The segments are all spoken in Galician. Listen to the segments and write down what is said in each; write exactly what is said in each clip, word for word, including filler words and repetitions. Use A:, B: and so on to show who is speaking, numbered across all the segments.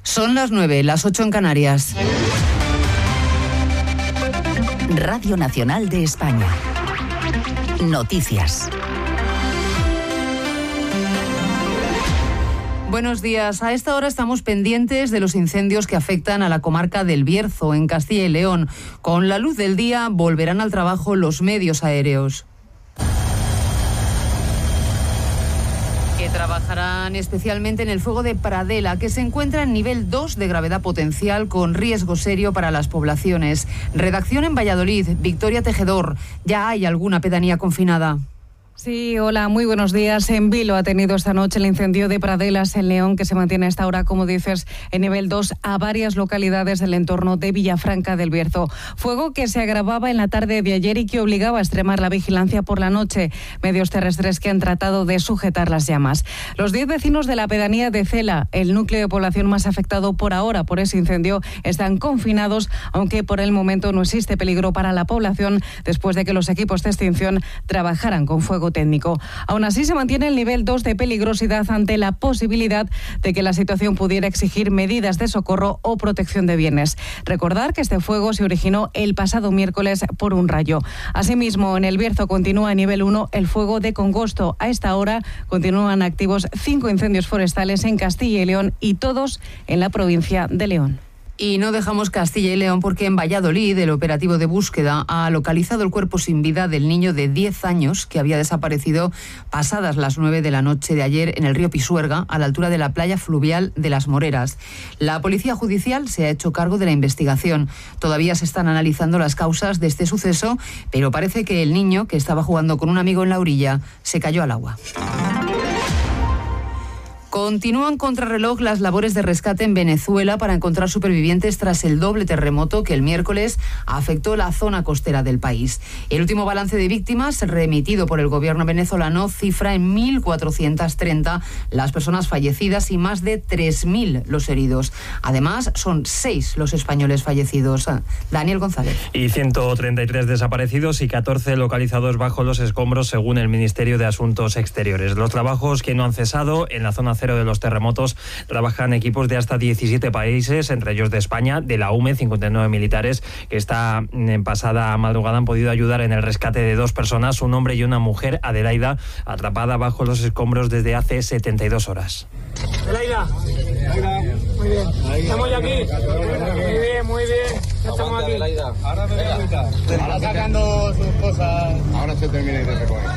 A: Son las nueve, las ocho en Canarias.
B: Radio Nacional de España. Noticias.
A: Buenos días. A esta hora estamos pendientes de los incendios que afectan a la comarca del Bierzo, en Castilla y León. Con la luz del día volverán al trabajo los medios aéreos, que trabajarán especialmente en el fuego de Pradela, que se encuentra en nivel dos de gravedad potencial con riesgo serio para las poblaciones. Redacción en Valladolid, Victoria Tejedor. ¿Ya hay alguna pedanía confinada?
C: Sí, hola, muy buenos días. En Vilo ha tenido esta noche el incendio de Pradelas en León, que se mantiene a esta hora, como dices, en nivel dos a varias localidades del entorno de Villafranca del Bierzo. Fuego que se agravaba en la tarde de ayer y que obligaba a extremar la vigilancia por la noche. Medios terrestres que han tratado de sujetar las llamas. Los diez vecinos de la pedanía de Cela, el núcleo de población más afectado por ahora por ese incendio, están confinados, aunque por el momento no existe peligro para la población después de que los equipos de extinción trabajaran con fuego técnico. Aún así, se mantiene el nivel dos de peligrosidad ante la posibilidad de que la situación pudiera exigir medidas de socorro o protección de bienes. Recordar que este fuego se originó el pasado miércoles por un rayo. Asimismo, en el Bierzo continúa a nivel uno el fuego de Congosto. A esta hora continúan activos cinco incendios forestales en Castilla y León y todos en la provincia de León.
A: Y no dejamos Castilla y León porque en Valladolid el operativo de búsqueda ha localizado el cuerpo sin vida del niño de diez años que había desaparecido pasadas las nueve de la noche de ayer en el río Pisuerga, a la altura de la playa fluvial de Las Moreras. La Policía Judicial se ha hecho cargo de la investigación. Todavía se están analizando las causas de este suceso, pero parece que el niño, que estaba jugando con un amigo en la orilla, se cayó al agua. Continúan contrarreloj las labores de rescate en Venezuela para encontrar supervivientes tras el doble terremoto que el miércoles afectó la zona costera del país. El último balance de víctimas remitido por el gobierno venezolano cifra en mil cuatrocientas treinta las personas fallecidas y más de tres mil los heridos. Además, son seis los españoles fallecidos. Daniel González.
D: Y ciento treinta y tres desaparecidos y catorce localizados bajo los escombros, según el Ministerio de Asuntos Exteriores. Los trabajos que no han cesado en la zona de los terremotos trabajan equipos de hasta diecisiete países, entre ellos de España, de la U M E, cincuenta y nueve militares que esta en pasada madrugada han podido ayudar en el rescate de dos personas, un hombre y una mujer, Adelaida, atrapada bajo los escombros desde hace setenta y dos horas.
E: Adelaida, muy bien, estamos ya aquí, muy bien, muy bien, ya estamos aquí.
F: Ahora me da cuenta, ahora sacando sus cosas, ahora se termina de recoger.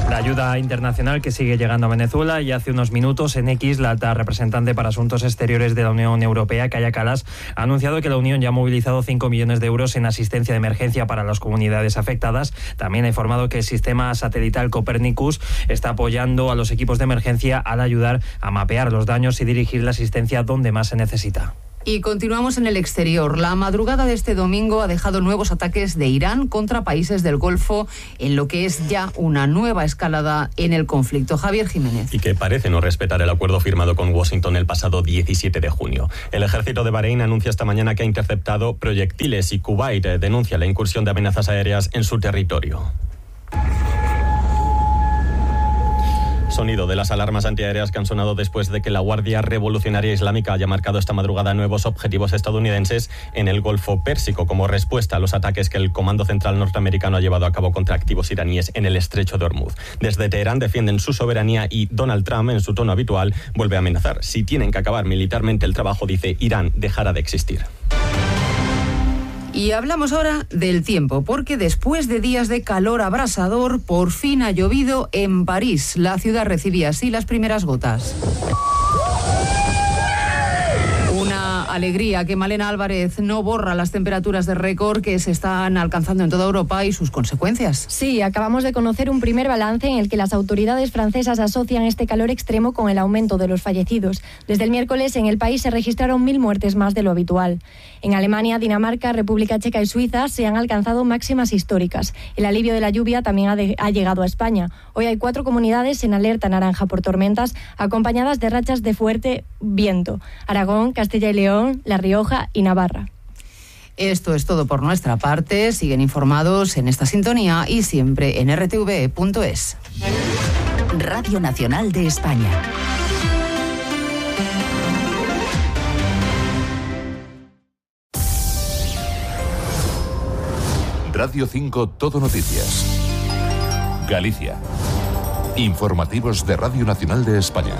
D: La ayuda internacional que sigue llegando a Venezuela, y hace unos minutos en X la alta representante para Asuntos Exteriores de la Unión Europea, Kaja Kallas, ha anunciado que la Unión ya ha movilizado cinco millones de euros en asistencia de emergencia para las comunidades afectadas. También ha informado que el sistema satelital Copernicus está apoyando a los equipos de emergencia al ayudar a mapear los daños y dirigir la asistencia donde más se necesita.
A: Y continuamos en el exterior. La madrugada de este domingo ha dejado nuevos ataques de Irán contra países del Golfo, en lo que es ya una nueva escalada en el conflicto. Javier Jiménez.
G: Y que parece no respetar el acuerdo firmado con Washington el pasado diecisiete de junio. El ejército de Bahrein anuncia esta mañana que ha interceptado proyectiles y Kuwait denuncia la incursión de amenazas aéreas en su territorio. Sonido de las alarmas antiaéreas que han sonado después de que la Guardia Revolucionaria Islámica haya marcado esta madrugada nuevos objetivos estadounidenses en el Golfo Pérsico como respuesta a los ataques que el Comando Central norteamericano ha llevado a cabo contra activos iraníes en el Estrecho de Hormuz. Desde Teherán defienden su soberanía y Donald Trump, en su tono habitual, vuelve a amenazar. Si tienen que acabar militarmente el trabajo, dice, Irán dejará de existir.
A: Y hablamos ahora del tiempo, porque después de días de calor abrasador, por fin ha llovido en París. La ciudad recibía así las primeras gotas. Una alegría que Malena Álvarez no borra las temperaturas de récord que se están alcanzando en toda Europa y sus consecuencias.
H: Sí, acabamos de conocer un primer balance en el que las autoridades francesas asocian este calor extremo con el aumento de los fallecidos. Desde el miércoles en el país se registraron mil muertes más de lo habitual. En Alemania, Dinamarca, República Checa y Suiza se han alcanzado máximas históricas. El alivio de la lluvia también ha, de, ha llegado a España. Hoy hay cuatro comunidades en alerta naranja por tormentas, acompañadas de rachas de fuerte viento: Aragón, Castilla y León, La Rioja y Navarra.
A: Esto es todo por nuestra parte. Siguen informados en esta sintonía y siempre en r t v punto es.
B: Radio Nacional de España.
I: Radio cinco Todo Noticias. Galicia. Informativos de Radio Nacional de España.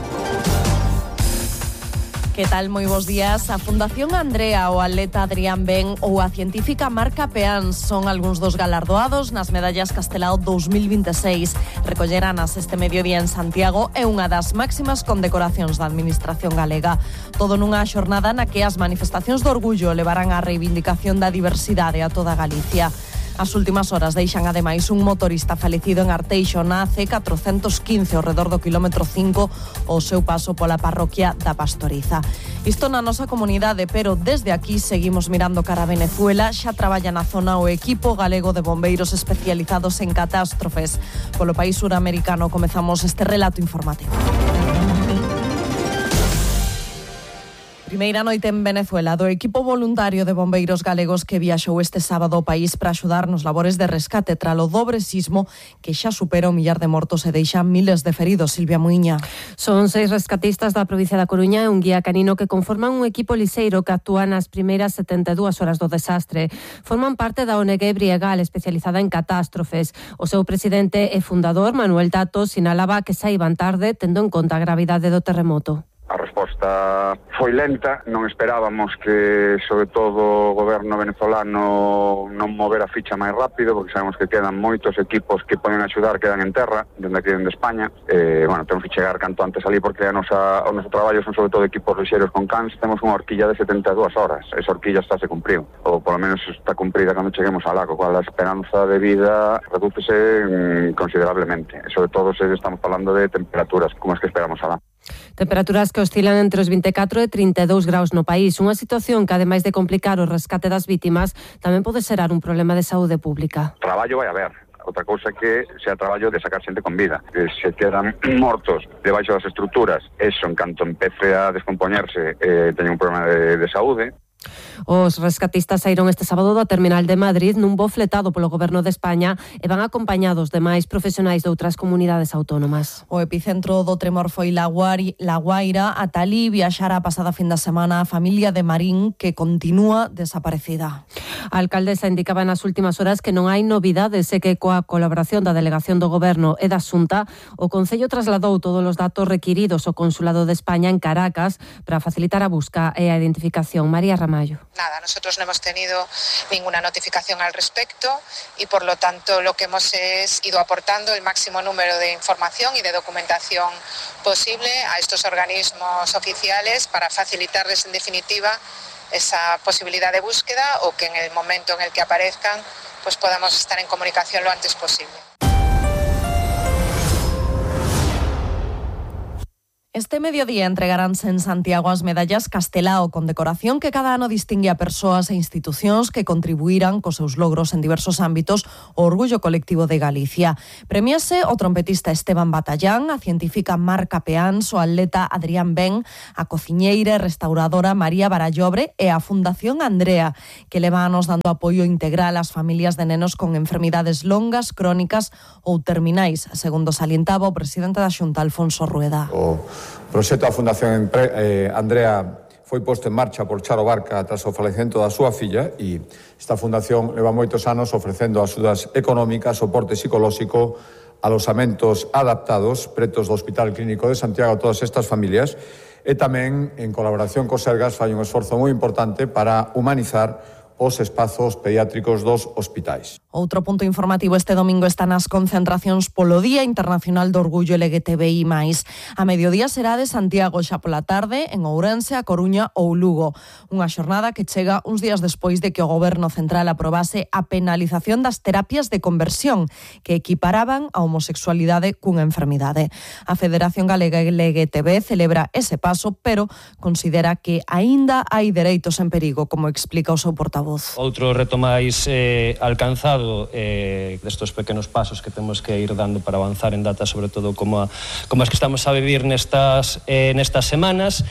J: Que tal? Moi bons días. A Fundación Andrea, o atleta Adrián Ben ou a científica Marca Peán son algúns dos galardoados nas medallas Castelao dos mil vinte e seis. Recolleranas este mediodía en Santiago e unha das máximas condecoracións da Administración galega. Todo nunha xornada na que as manifestacións de orgullo levarán a reivindicación da diversidade a toda Galicia. As últimas horas deixan ademais un motorista falecido en Arteixo na C catrocentos quince ao redor do quilómetro cinco ao seu paso pola parroquia da Pastoriza. Isto na nosa comunidade, pero desde aquí seguimos mirando cara a Venezuela. Xa traballa na zona o equipo galego de bombeiros especializados en catástrofes. Polo país suramericano comezamos este relato informativo. Primeira noite en Venezuela do equipo voluntario de bombeiros galegos que viaxou este sábado ao país para axudar nos labores de rescate tralo dobre sismo que xa supera o millar de mortos e deixa miles de feridos. Silvia Muiña.
K: Son seis rescatistas da provincia da Coruña e un guía canino que conforman un equipo liseiro que actúa nas primeiras setenta e dúas horas do desastre. Forman parte da O N G Briegal, especializada en catástrofes. O seu presidente e fundador, Manuel Tato, sinalaba que saiban tarde tendo en conta a gravidade do terremoto.
L: A resposta foi lenta, non esperábamos que, sobre todo, o goberno venezolano non mover a ficha máis rápido, porque sabemos que quedan moitos equipos que poden axudar, quedan en terra, dende aquí dende España. Eh, bueno, temos que chegar canto antes ali, porque a nosa, o noso traballo son sobre todo equipos lixeiros con cans. Temos unha horquilla de setenta e dúas horas, esa horquilla está se cumpriu, ou polo menos está cumprida cando cheguemos alá, co cual a esperanza de vida redúcese mm, considerablemente, e sobre todo se estamos falando de temperaturas como as que esperamos alá.
K: Temperaturas que oscilan entre os vinte e catro e trinta e dous graus no país, unha situación que, ademais de complicar o rescate das vítimas, tamén pode xerar un problema de saúde pública.
L: Traballo vai haber. Outra cousa que sea traballo de sacar xente con vida. Que se quedan mortos debaixo das estruturas, eso en canto empece a descompoñerse, eh, teñen un problema de, de saúde.
K: Os rescatistas saíron este sábado da terminal de Madrid nun voo fletado polo Goberno de España e van acompañados de máis profesionais de outras comunidades autónomas.
J: O epicentro do tremor foi La Guaira. Ata alí viaxara a pasada fin de semana a familia de Marín, que continúa desaparecida.
K: A alcaldesa indicaba nas últimas horas que non hai novidades e que coa colaboración da Delegación do Goberno e da Xunta, o Concello trasladou todos os datos requiridos ao Consulado de España en Caracas para facilitar a busca e a identificación. María Ramón. Mayo.
M: Nada, nosotros no hemos tenido ninguna notificación al respecto y por lo tanto lo que hemos es ido aportando el máximo número de información y de documentación posible a estos organismos oficiales para facilitarles en definitiva esa posibilidad de búsqueda o que en el momento en el que aparezcan pues podamos estar en comunicación lo antes posible.
J: Este mediodía entregaránse en Santiago as medallas Castelao, con decoración que cada ano distingue a persoas e institucións que contribuirán cos seus logros en diversos ámbitos ao orgullo colectivo de Galicia. Premiase o trompetista Esteban Batallán, a científica Marca Peán, o atleta Adrián Ben, a cociñeira e restauradora María Barallobre e a Fundación Andrea, que leva anos dando apoio integral ás familias de nenos con enfermidades longas, crónicas ou terminais, segundo salientaba o presidente da Xunta, Alfonso Rueda.
N: O proxecto da Fundación Andrea foi posto en marcha por Charo Barca tras o falecemento da súa filla e esta fundación leva moitos anos ofrecendo axudas económicas, soporte psicolóxico, alosamentos adaptados pretos do Hospital Clínico de Santiago a todas estas familias e tamén en colaboración co Sergas fai un esforzo moi importante para humanizar os espazos pediátricos dos hospitais.
J: Outro punto informativo este domingo está nas concentracións polo Día Internacional do Orgullo L G T B I máis. A mediodía será de Santiago, xa pola tarde en Ourense, A Coruña ou Lugo. Unha xornada que chega uns días despois de que o Goberno Central aprobase a penalización das terapias de conversión que equiparaban a homosexualidade cunha enfermidade. A Federación Galega L G T B celebra ese paso, pero considera que aínda hai dereitos en perigo, como explica o seu portavoz.
O: Outro reto máis eh, alcanzado eh, destos pequenos pasos que temos que ir dando para avanzar en datas, sobre todo como, a, como as que estamos a vivir nestas, eh, nestas semanas,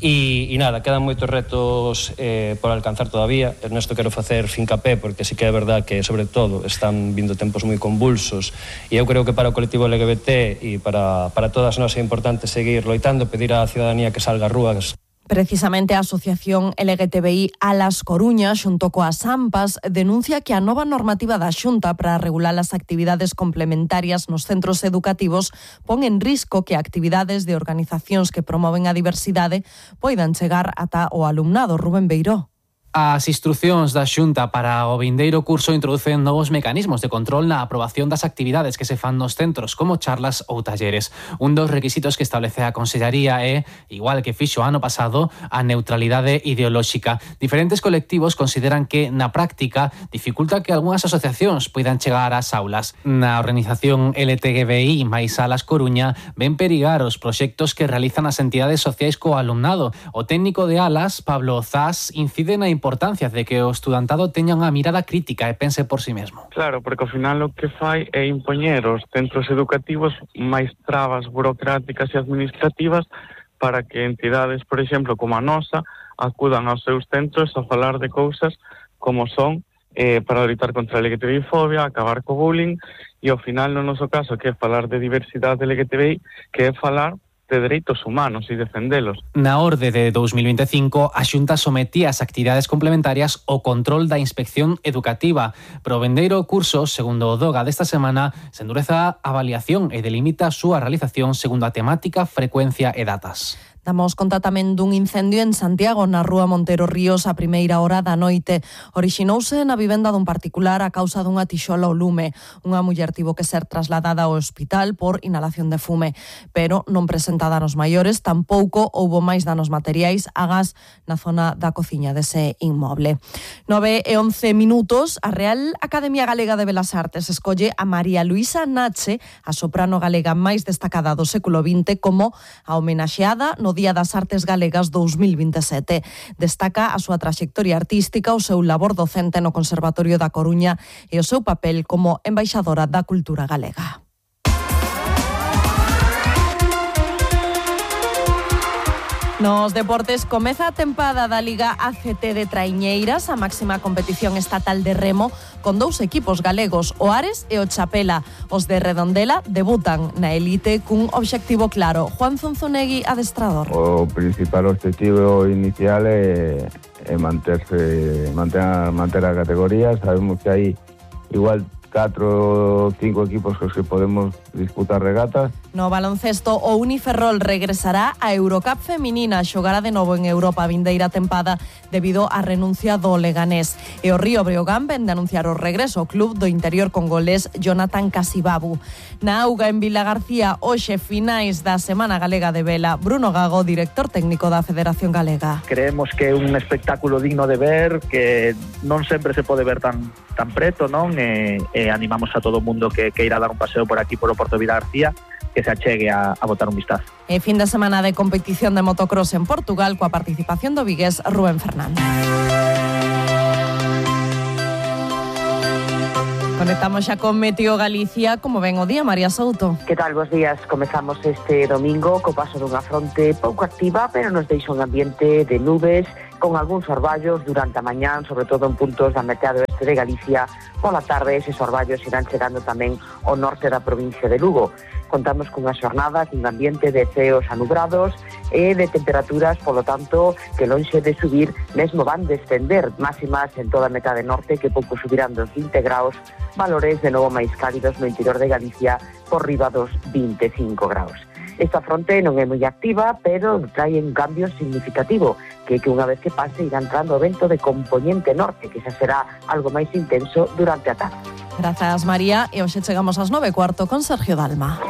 O: E, e nada, quedan moitos retos eh, por alcanzar todavía. Ernesto, quero facer fincapé porque sí que é verdad que, sobre todo, están vindo tempos moi convulsos e eu creo que para o colectivo L G B T e para, para todas nós é importante seguir loitando, pedir á ciudadanía que salga ás rúas.
J: Precisamente a Asociación L G T B I Alas Coruña, xunto coas AMPAs, denuncia que a nova normativa da Xunta para regular as actividades complementarias nos centros educativos pon en risco que actividades de organizacións que promoven a diversidade poidan chegar ata o alumnado. Rubén Beiró.
P: As instrucións da Xunta para o vindeiro curso introducen novos mecanismos de control na aprobación das actividades que se fan nos centros, como charlas ou talleres. Un dos requisitos que establece a Consellaría é, igual que fixo ano pasado, a neutralidade ideolóxica. Diferentes colectivos consideran que, na práctica, dificulta que algunhas asociacións poidan chegar ás aulas. Na organización L G T B I máis Alas Coruña ven perigar os proxectos que realizan as entidades sociais co alumnado. O técnico de Alas, Pablo Zas, incide na importancia de que o estudantado teña unha mirada crítica e pense por si mesmo.
Q: Claro, porque ao final o que fai é impoñer aos centros educativos máis trabas burocráticas e administrativas para que entidades, por exemplo, como a nosa, acudan aos seus centros a falar de cousas como son eh, para loitar contra a L G T B I fobia, acabar co bullying e ao final no noso caso que é falar de diversidade L G T B I, que é falar de dereitos humanos e defendelos.
P: Na orde de dous mil vinte e cinco, a Xunta sometía as actividades complementarias ao control da inspección educativa. Pero o vendeiro curso, segundo o DOGA desta semana, se endureza a avaliación e delimita a súa realización segundo a temática, frecuencia e datas.
J: Damos conta tamén dun incendio en Santiago, na rúa Montero Ríos, a primeira hora da noite. Orixinouse na vivenda dun particular a causa dunha tixola ao lume. Unha muller tivo que ser trasladada ao hospital por inhalación de fume, pero non presenta danos maiores, tampouco houbo máis danos materiais a gas na zona da cociña dese inmoble. nove e once minutos, a Real Academia Galega de Belas Artes escolle a María Luisa Nache, a soprano galega máis destacada do século vinte, como a homenaxeada no Día das Artes Galegas dous mil vinte e sete. Destaca a súa traxectoria artística, o seu labor docente no Conservatorio da Coruña e o seu papel como embaixadora da cultura galega. Nos deportes, comeza a tempada da Liga A C T de Traiñeiras, a máxima competición estatal de remo, con dous equipos galegos, o Ares e o Chapela. Os de Redondela debutan na elite cun obxectivo claro. Juan Zunzunegui, adestrador.
R: O principal obxectivo inicial é, é manterse, manter, manter a categoría. Sabemos que hai igual catro ou cinco equipos cos que podemos disputar regatas.
J: No baloncesto, o Uniferrol regresará a Eurocup feminina, xogará de novo en Europa a vindeira tempada debido á renuncia do Leganés. E o Río Breogán ven de anunciar o regreso ao club do interior congolés Jonathan Casibabu. Na auga en Vila García, hoxe finais da Semana Galega de Vela. Bruno Gago, director técnico da Federación Galega.
S: Creemos que é un espectáculo digno de ver, que non sempre se pode ver tan tan preto, non? E, e animamos a todo o mundo que, que irá dar un paseo por aquí, por o Porto Vila García, que se achegue a, a botar un vistazo.
J: E fin de semana de competición de motocross en Portugal coa participación do vigués Rubén Fernández. Conectamos xa con Meteo Galicia. Como ven o día, María Souto?
T: Que tal, bos días? Comezamos este domingo co paso dunha fronte pouco activa, pero nos deixa un ambiente de nubes con algúns orballos durante a mañán, sobre todo en puntos da metade oeste de Galicia. Pola tarde, eses orballos irán chegando tamén ao norte da provincia de Lugo. Contamos cunha xornada cun ambiente de ceos anubrados e de temperaturas, polo tanto, que lonxe de subir, mesmo van descender, máximas en toda a metade norte que pouco subirán dos vinte graus, valores de novo máis cálidos no interior de Galicia por riba dos vinte e cinco graus. Esta fronte non é moi activa, pero trae un cambio significativo, que que unha vez que pase irá entrando o vento de componente norte, que xa será algo máis intenso durante a tarde.
J: Grazas, María, e hoxe chegamos ás nove e cuarto con Sergio Dalma.